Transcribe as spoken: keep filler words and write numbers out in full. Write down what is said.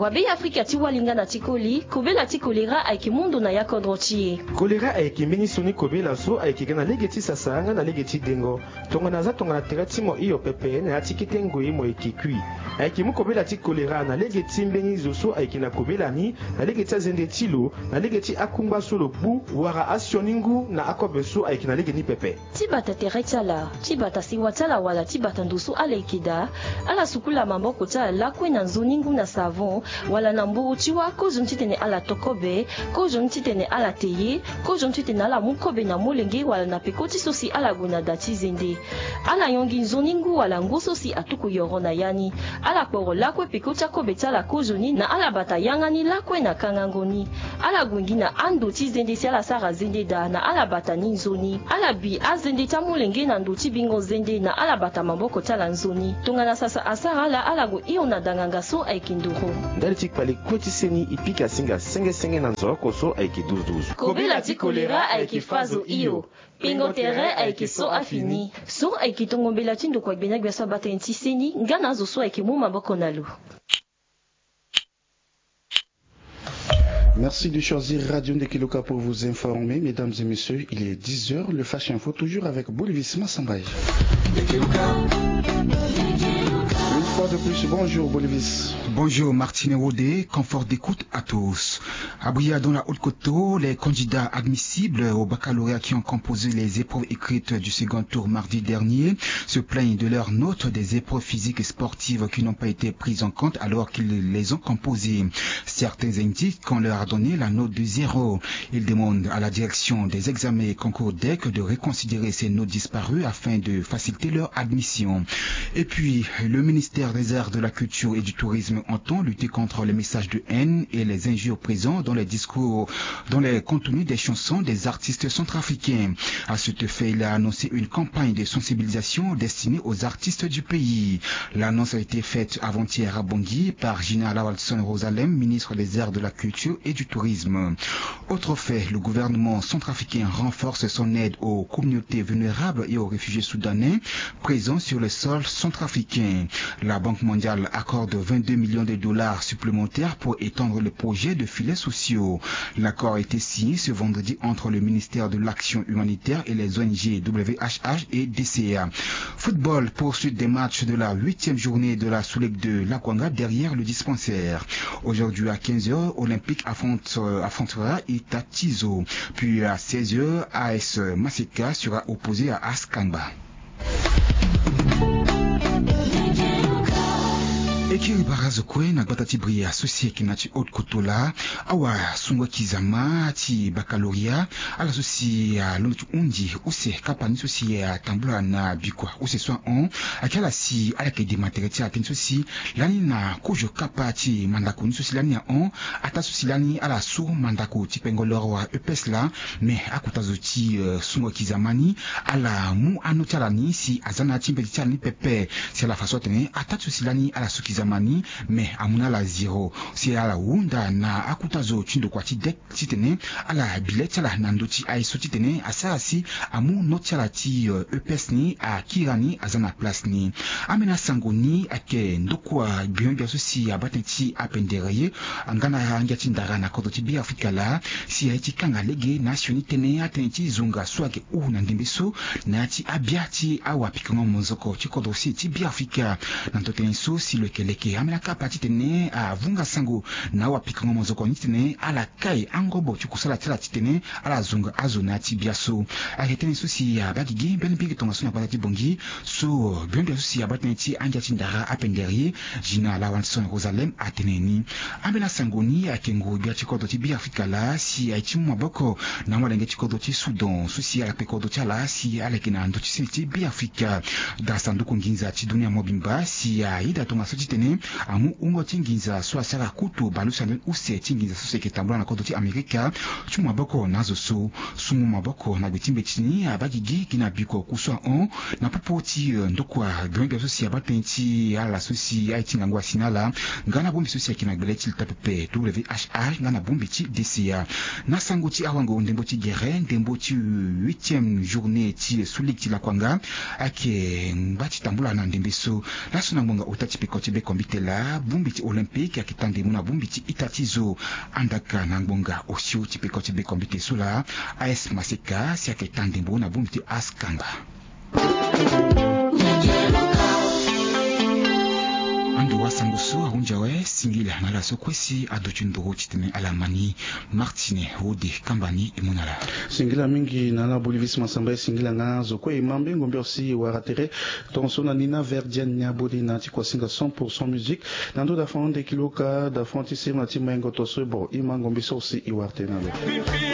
Wa be afrika ti wali nga na ti koli, kobela ti kolera ayeke mu ndo na ya kodro ti e. Kolera ayeke mbeni sioni kobela so ayeke ga na lege ti sasa nga na lege ti dengo. Tongana aza tongana tere ti mo hio pepe na ya ti kete ngoi mo yeke kui. Ayeke mu kobela ti kolera na lege ti mbeni zo so ayeke na kobela ni, na lege ti azende ti lo, na lege ti akungba so lo gbu, wala asioni ngu na akobe so ayeke na lege ni pepe. Ti bata tere ti ala, ti bata sewa ti ala wala ti bata ndo so ala yeke daa, ala sukula maboko ti ala lakue na nzoni ngu na savon, wala na mburu ti wâ kozoni titene ala to kobe, kozoni titene ala te ye, kozoni titene ala mu kobe na molenge wala na peko ti so si ala gue na da ti zende. Ala yongi nzoni ngu wala ngu so si atuku yoro na ya ni. Ala kporo lakue peko ti akobe ti ala kozoni na ala bata yanga ni lakue na kangango ni. Ala gue gi na ando ti zende si ala sara zende daa na ala bata ni nzoni. Ala bi azende ti amolenge na ndo ti bingo zende na ala bata maboko ti ala nzoni. Tongana sasa asara ala, ala gue hio na danganga so ayeke nduru. Ndali ti kpale kue ti seni e pika singa senge senge na nzoroko so ayeke duzu duzu. Kobela ti kolera ayeke fa zo hio. Pingo tere ayeke so afini. So ayeke tongo mbela ti ndokua gbena gbia so abata tënë ti seni nga na azo so ayeke mu maboko na lo. Merci de choisir Radio Ndekeloka pour vous informer. Mesdames et messieurs, il est dix heures. Le Flash Info, toujours avec Bolivis Massambaye. Une fois de plus, bonjour Bolivis. Bonjour Martine Wodé, confort d'écoute à tous. À Bria, dans la Haute-Côte, les candidats admissibles au baccalauréat qui ont composé les épreuves écrites du second tour mardi dernier se plaignent de leur note des épreuves physiques et sportives qui n'ont pas été prises en compte alors qu'ils les ont composées. Certains indiquent qu'on leur a donné la note de zéro. Ils demandent à la direction des examens et concours DEC de reconsidérer ces notes disparues afin de faciliter leur admission. Et puis, le ministère des Arts, de la Culture et du Tourisme entend lutter contre les messages de haine et les injures présents dans les discours, dans les contenus des chansons des artistes centrafricains. À cet effet, il a annoncé une campagne de sensibilisation destinée aux artistes du pays. L'annonce a été faite avant-hier à Bangui par Gina Lawalson Rosalem, ministre des Arts, de la Culture et du Tourisme. Autre fait, le gouvernement centrafricain renforce son aide aux communautés vulnérables et aux réfugiés soudanais présents sur le sol centrafricain. La Banque mondiale accorde vingt-deux millions de dollars supplémentaires pour étendre le projet de filets sociaux. L'accord a été signé ce vendredi entre le ministère de l'Action humanitaire et les O N G W H H et D C A. Football, poursuite des matchs de la huitième journée de la Sous-Ligue de Lakwanga derrière le dispensaire. Aujourd'hui à quinze heures, Olympique affronte, euh, affrontera Itatizo. Puis à seize heures, A S Maseka sera opposé à Askangba. E kiri bara zo kue na gbata ti Bria so si ayeke na ti Haute-Côte laa, awasungo-aki-zama ti baccalauréat, ala so si alondo ti hundi use kapa ni so si atambula na bikua use so ahon, ayeke ala si ala yeke dema tere ti ala tënë so si lani na kozo kapa ti mandako ni so si lani ahon, ataa so si lani ala su mandako ti pengo loro wala E P S laa, me akota zo ti, eh, sungo-aki-zama ni, ala mu ano ti ala ni si aza na ya ti mbeti ti ala ni pepe. Si ala fa so atene ataa ti so si lani ala su ki-zama ni, me amu na ala zéro. Si ala hunda na akota zo ti ndokua ti DEC titene ala bi le ti ala na ndö ti aye so titene asara si amu note ti ala ti, eh, E P S ni akiri ani aza na place ni. Ambeni asango ni ayeke ndokua gbia gbia so si abaa tënë ti apendere ye nga na angia ti ndara na kodro ti Beafrika laa, si aye ti kanga lege na asioni tënë atënë ti zonga so ayeke huru na ndembe so na ya ti abia ti awapikango mozoko ti kodro se ti Beafrika. Na ndo tënë so si lo yeke leke ambeni akapa titene avunga sango na awapikango mozoko ni titene ala kai angobo ti kusala ti ala titene ala zonga azo na ya ti bia so. Ayeke tënë so si abaa gigi mbeni mbingi tongaso na gbata ti Bangui so gbia gbia so si abaa tënë ti angia ti ndara apendere ye, Gina Lawanson Rosalem atene ni. Ambeni asango ni ayeke nguru-gbia ti kodro ti Beafrika laa si aye ti mu maboko na amolenge ti kodro ti Soudan so si ala kpe kodro ti ala si ala yeke na ndö ti sini ti Beafrika. Daa sanduku nginza ti dunia mobimba si ayeda tongaso titene amu wungo ti nginza so asara kutu bale use na ndö ni use ti nginza so si ayeke tambula na kodro ti Amerika ti mu maboko na azo so. Sungo maboko na gbe ti mbeti ni abaa gigi gi na biko ku so ahon na popo ti, eh, ndokua gbia gbia so si abaa tënë ti ala so si aye ti ngangu asi na ala nga na bongbi so si ayeke na gbele ti leta pepe W H H nga na bongbi ti D C A. Na sango ti awango ndembo ti gere ndembo ti huitième journée ti Sous-Ligue ti Lakwanga ayeke ngba ti tambula na ndembe so. Laso na ngbonga ota ti peko ti beko Tela bongbi ti Olympique ayeke taa ndembo na bongbi ti ita ti zo. Andaka na ngbonga osio ti peko ti bekombite so laa, A S Maseka si ayeke taa ndembo na bongbi ti Askanga. Ando wasango so ahunzi awe, singila na ala so kue si aduti nduru titene ala ma ni. Martine Hode kamba ni e mu na ala. Singila mingi na ala Bolivis Masamba e singila nga zo kue e ma mbengo mbio si e wara tere. Tongaso na ni na Verdienne Niaboli na ti kuasinga cent pour cent musique. Na ndo dafan nde kiloka dafan ti sirina ti mayengo to so e bo e ma ngombi so si e wara tene na lo.